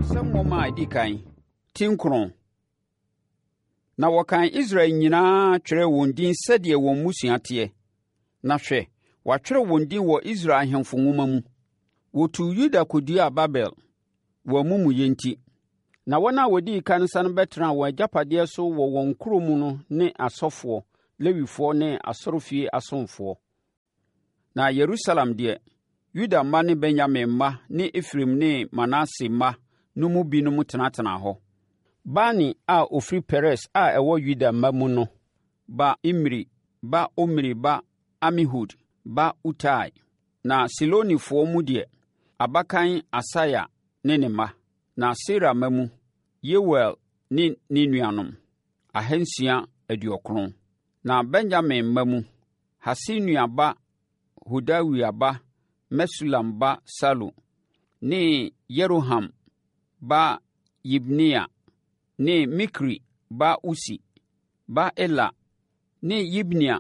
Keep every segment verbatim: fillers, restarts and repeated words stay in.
Nsɛm nwoma a ɛdi kan, ti nkron. Na wɔkan Israel nyinaa twerɛɛ wɔn din sɛdeɛ wɔn mmusua teɛ. Na hwɛ, wɔatwerɛ wɔn din wɔ Israel Ahemfo Nwoma mu. Wɔtuu Yuda kɔduaa Babel, wɔn amumuyɛ nti. Na wɔn a wɔdii kan sane bɛtenaa wɔn agyapadeɛ so wɔ wɔn nkuro mu no ne asɔfoɔ, Lewifoɔ ne asɔrefie asomfoɔ. Na Yerusalem deɛ, Yuda mma ne Benyamin mma ne Efraim ne Manase mma no mu binom tenatenaa hɔ. Bani a ɔfiri Peres a ɛwɔ Yuda mma mu no ba Imri ba Omri ba Amihud ba Utai. Na Silonifoɔ mu deɛ, abakan Asaia ne ne mma. Na Sera mma mu, Yeuel ne ne nuanom, ahansia aduɔkron. Na Benyamin mma mu, Hasenua ba Hodawia ba Mesulam ba Salu ne Yeroham ba Yibneia ne Mikri ba Usi ba Ela ne Yibnia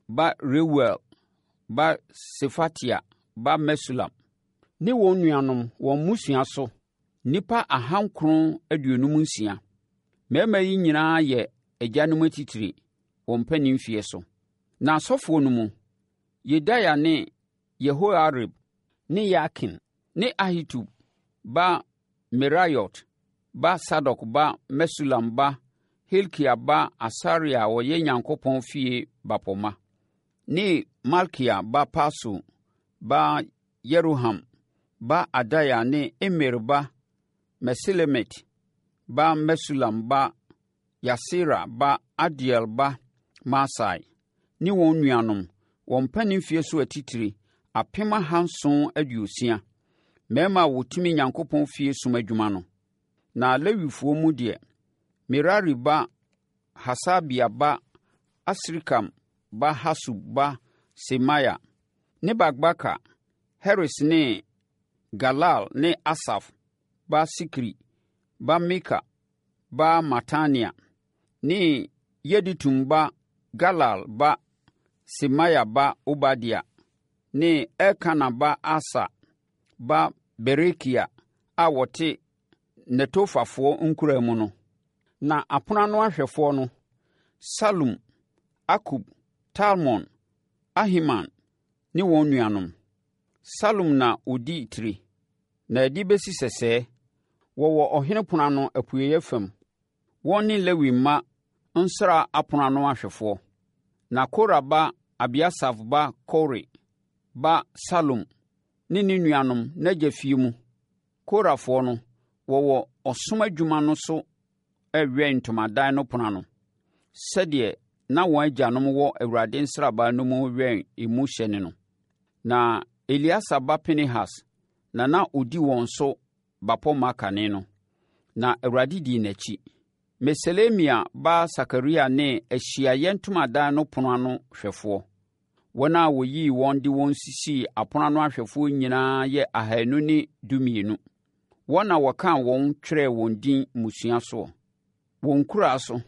ba Reuel ba Sefatia ba Mesulam ne wɔn nuanom, wɔn mmusua so, nnipa ahankron aduonum nsia. Mmarima yi nyinaa yɛ agyanom atitire, wɔn mpanimfie so. Na asɔfoɔ no mu, Yedaia ne Yehoiarib ne Yakin ne Ahitub ba Meraiot ba Sadok ba Mesulam ba Hilkia ba Asaria a ɔyɛ Nyankopɔn fie bapɔmma ne Malkia ba Pasur ba Yeroham ba Adaia ne Imer ba Mesilemit ba Mesulam ba Yahsera ba Adiel ba Masai ne wɔn nuanom, wɔn mpanimfie so atitire, apem ahanson aduosia, mmarima a wɔtumi Nyankopɔn fie som adwuma no. Na Lewifoɔ mu deɛ, Merari ba Hasabia ba Asrikam ba Hasub ba Semaia ne Bakbakar, Heres ne Galal ne Asaf ba Sikri ba Mika ba Matania ne Yedutun ba Galal ba Semaia ba Obadia ne Elkana ba Asa ba Berekia a wɔte Netofafoɔ nkuraa mu no. Na apono ano ahwɛfoɔ no, Salum, Akub, Talmon, Ahiman ne wɔn nuanom. Salum na ɔdi tire, na ɛde bɛsi sɛsɛɛ, wɔwɔ ɔhene pono ano apueeɛ fam. Wɔn ne Lewi mma nsra apono ano ahwɛfoɔ. Na Kora ba Abiasaf ba Kore ba Salum ne ne nuanom, n'agya fie mu, Korafoɔ no, wɔwɔ ɔsom adwuma no so rewɛn ntomadan no pono ano, sɛdeɛ na wɔn agyanom wɔ Awurade nsraban no mu rewɛn emu hyɛne no. Na Eleasa ba Pinehas na na ɔdi wɔn so bapɔmma kane no, na Awurade dii n'akyi. Meselemia ba Sakaria ne Ahyiaeɛ Ntomadan no pono ano hwɛfoɔ. Wɔn a wɔyii wɔn de wɔn sisii apono ano ahwɛfoɔ nyinaa yɛ ahanu ne dumienu. Wɔn na wɔkaa wɔn twerɛɛ wɔn din mmusua soɔ, wɔn nkuraa so.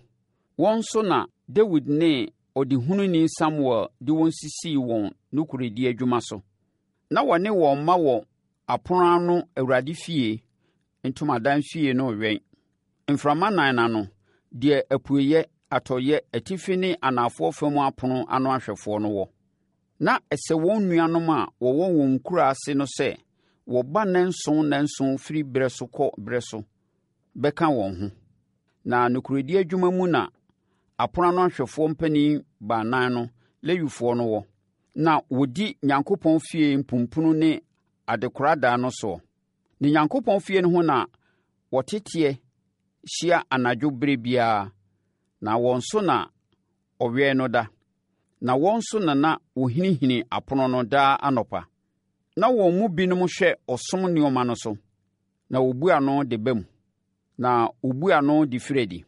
Wɔn nso na Dawid ne ɔdehununi Samuel de wɔn sisii wɔn nokorɛdie adwuma so. Na wɔne wɔn mma wɔ apono ano Awurade fie, ntomadan fie no rewɛn. Mframa nnan no ano, deɛ apueeɛ, atɔeɛ, atifi ne anafoɔ fam apono ano ahwɛfoɔ no wɔ. Na ɛsɛ wɔn nuanom a wɔwɔ wɔn nkuraa ase no sɛ wɔba nnanson nnanson firi berɛ so kɔ berɛ so bɛka wɔn ho. Na nokorɛdie adwuma mu na apono ano ahwɛfoɔ mpanin baanan no, Lewifoɔ no wɔ. Na wɔdi Nyankopɔn fie mpumpunu ne adekoradan no soɔ. Ne Nyankopɔn fie no ho na wɔteteɛ hyia anadwo berɛ biara, na wɔn so na ɔwɛn no da, na wɔn nso na na wɔhinihini apono no daa anɔpa. Na wɔn mu binom hwɛ ɔsom nneɛma no so, na wɔbu ano de ba mu, na wɔbu ano de firi adi.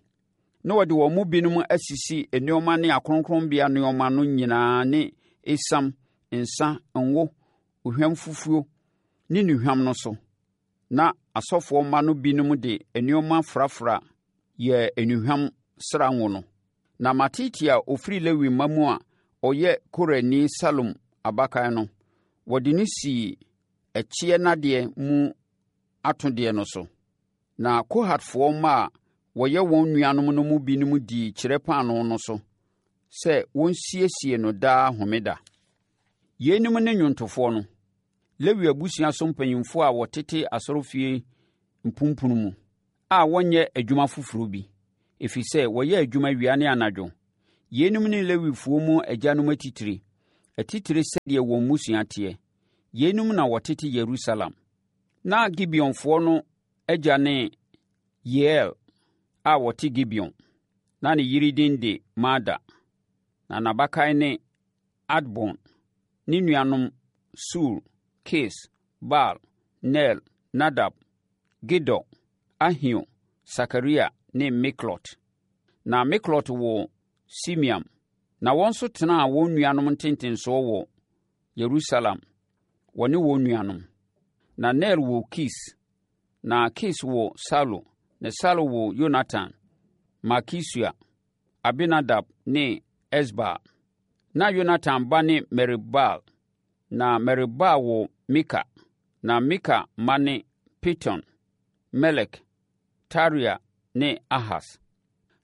Na wɔde wɔn mu binom asisi nneɛma ne akronkronbea nneɛma no nyinaa ne esiam, nsã, ngo, ohwamfufuo ne nnuhwam no so. Na asɔfoɔ mma no binom de nneɛma frafra yɛɛ nnuhwam sra ngo no. Na Matitia a ɔfiri Lewi mma mu a ɔyɛ Korani Salum abakan no, wɔde no sii ɛkyeɛ nnadeɛ mu atodeɛ no so. Na Kohatfoɔ mma a wɔyɛ wɔn nuanom no mu binom dii Kyerɛ Paanoo no so sɛ wɔnsiesie no daa Homeda. Yeinom ne nnwontofoɔ no, Lewi abusua so mpanimfoɔ a wɔtete asɔrefie mpumpunu mu, a wɔnyɛ adwuma foforɔ bi, ɛfiri sɛ wɔyɛ adwuma awia ne anadwo. Yeinom ne Lewifoɔ mu agyanom atitire, atitire sɛdeɛ wɔn mmusua teɛ. Yeinom na wɔtete Yerusalem. Na Gibeonfoɔ no agya ne Yeiel a ɔte Gibeon. Na ne yere din de Maada. Na n'abakan ne Adbon. Ne nuanom Sur, Kis, Baal, Ner, Nadab, Gedor, Ahio, Sakaria ne Miklot. Na Miklot woo Simeam. Na wɔn nso tenaa wɔn nuanom ntentensoɔ wɔ Yerusalem, wɔne wɔn nuanom. Na Ner woo Kis, na Kis woo Saulo, na Saulo woo Yonatan, Malkisua, Abinadab ne Esbaal. Na Yonatan ba ne Merib-Baal, na Merib-Baal woo Mika. Na Mika mma ne Piton, Melek, Tarea ne Ahas.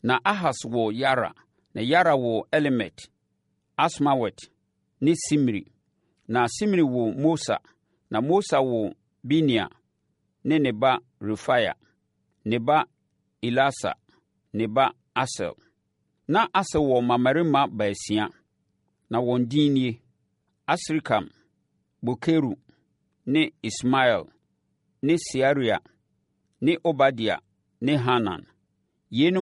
Na Ahas woo Yara, na Yara woo Alemet, Asmawet ne Simri. Na Simri woo Mosa, na Mosa woo Binea ne ne ba Refaia, ne ba Elasa, ne ba Asel. Na Asel wɔ mmammarima baasia, na wɔn din nie: Asrikam, Bokeru ne Ismael ne Searia ne Obadia ne Hanan. Yeinom